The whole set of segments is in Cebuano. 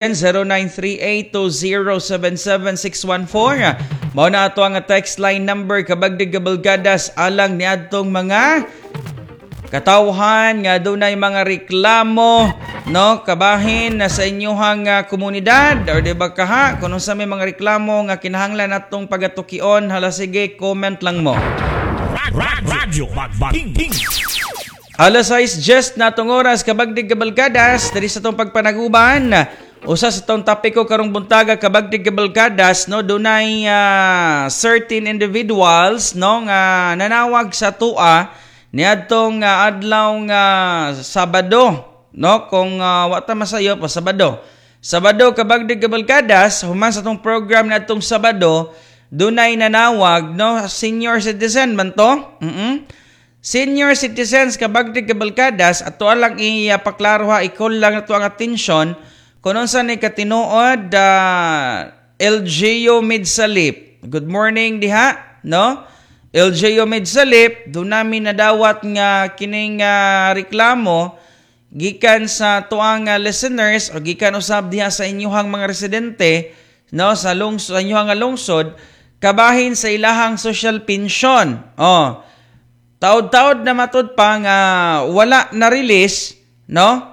0938-2077614. Mao na ato ang text line number, kabagdig kabalgadas, alang niadtong mga katawhan nga dunay mga reklamo, no, kabahin na sa inyuhang komunidad or di ba kaha kung unsa may mga reklamo nga kinahanglan natong pagatukion. Hala, sige, comment lang mo. Radyo Magbanging. Alas 6 just na atong oras, kabagdig kabalkadas, diri sa atong pagpanaguban. Usa sa atong topiko karong buntaga, kabagdig kabalkadas, no, dunay certain individuals, no, nga nanawag sa tua niadtong adlaw nga Sabado, no, kung wa ta masayo pa Sabado. Sabado, kabagdig kabalkadas, human sa atong program niadtong Sabado, dunay nanawag, no, senior citizen man to. Senior citizens, kabagdig kabalkadas, ato lang ipaklaro ha, i-call lang ato ang atensyon kung unsa ni katinuod, LGU Midsalip. Good morning diha, no? LGU Midsalip, do nami nadawat nga kining reklamo gikan sa tuang listeners o gikan usab diha sa inyuhang mga residente, no, sa lungsod, sa inyuhang nga lungsod, kabahin sa ilahang social pension. Oh. Taod-taod na matud pa nga wala na release, no,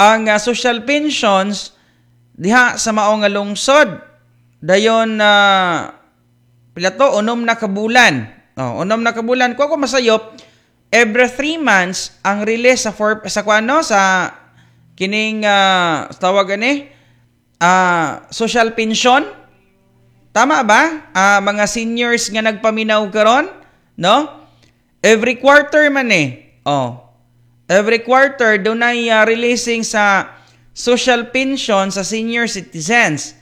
ang social pensions diha sa mao nga lungsod. Dayon na pila to, 6 na ka bulan. Oh, 6 na ka bulan ko ako masayop, every 3 months ang release sa for, sa kuano, sa kining tawag ani social pension. Tama ba? Mga seniors nga nagpaminaw karon, no? Every quarter man eh. Oh. Every quarter dunay releasing sa social pension sa senior citizens.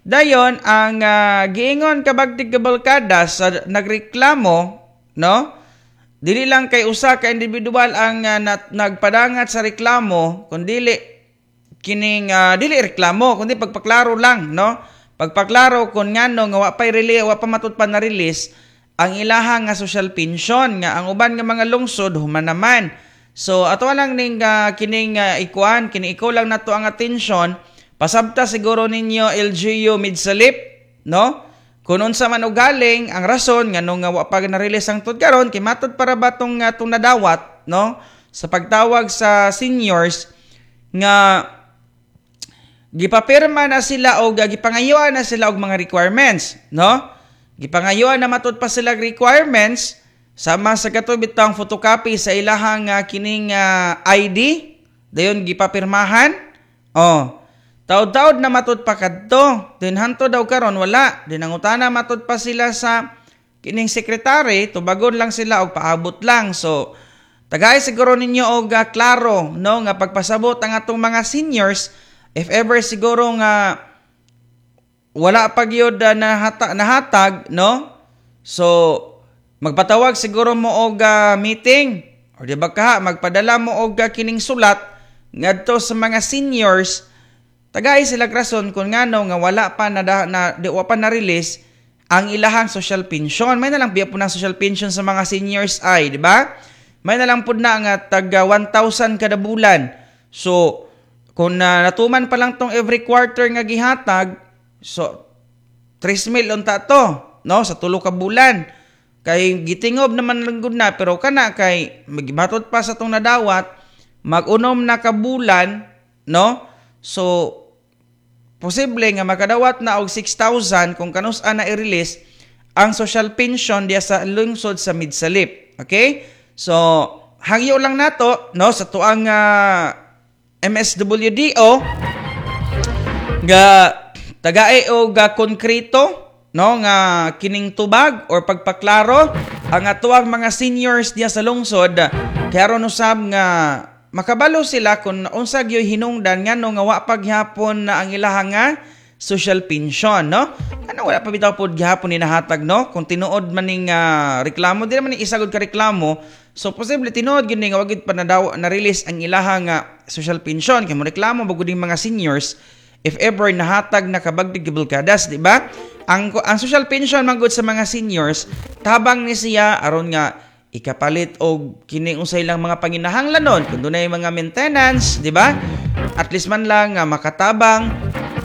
Dayon ang giingon, kabagtig kabalkada, sa nagreklamo, no? Dili lang kay usa ka individual ang nagpadangat sa reklamo, kundi kining dili reklamo kundi pagpaklaro lang, no? Pagpaklaro kung ngano nga wa pay release, wa pa matud pa na release ang ilahang nga social pension, nga ang uban nga mga lungsod human naman. So ato lang ning kining ikuan, kini ikaw lang nato ang atensyon. Pasabta siguro ninyo, LGU Midsalip, no? Kung unsa man og galing ang rason ngano nga wa pa na-release ang tud karon, kay matud para ba tong nadawat, no, sa pagtawag sa seniors nga gipapirma na sila og gipangayuan na sila og mga requirements, no? Gipangayuan na matud pa sila requirements sama sa kato bitang photocopy sa ilahang kining ID, dayon gipapirmahan. Oh. Taod-taod na matud pa kadto. Din hanto daw karon wala. Din nangutana matud pa sila sa kining sekretary, tubagon lang sila og paabot lang. So tagay siguro ninyo og klaro, no, nga pagpasabot ang atong mga seniors if ever siguro nga wala pa gyud nahatag, no? So magpatawag siguro mo og meeting or di ba ka magpadala mo og kining sulat ngadto sa mga seniors, tagay sila rason kung ngano nga wala pa na, na di wa pa na release ang ilahang social pension. May na lang biya po ng social pension sa mga seniors ay, di ba? May na lang pud na nga tag 1,000 kada bulan. So kung natuman pa lang tong every quarter nga gihatag, so 3 mil unta to, no, sa 3 ka bulan. Kay gitingob naman lang gud na, pero kana kay magibatot pa sa tong nadawat, mag-unom na ka bulan, no? So posible nga makadawat na og 6,000 kung kanus-a na i-release ang social pension diya sa lungsod sa Midsalip. Okay? So hangyo lang nato, no, sa tuang MSWDO nga tagae og konkreto, no, nga kining tubag or pagpaklaro ang atuang mga seniors diya sa lungsod, kay aron usab nga makabalo sila kung unsa gyoy hinungdan ngano nga wa pa gihapon na ang ilahang nga social pension, no? Ano, wala pa bitaw pod gihapon ni nahatag, no? Kung tinuod man ning reklamo, di naman ni isagod ka reklamo, so posible tinuod gyud ni nga wa gyud pa na na release ang ilahang nga social pension, kay mo reklamo bagud ning mga seniors if ever nahatag na, kabagdig kabalkadas, di ba? Ang social pension man gud sa mga seniors, tabang ni siya aron nga ikapalit og kini unsay lang mga panginahanglanon kung dunay mga maintenance, di ba? At least man lang nga makatabang.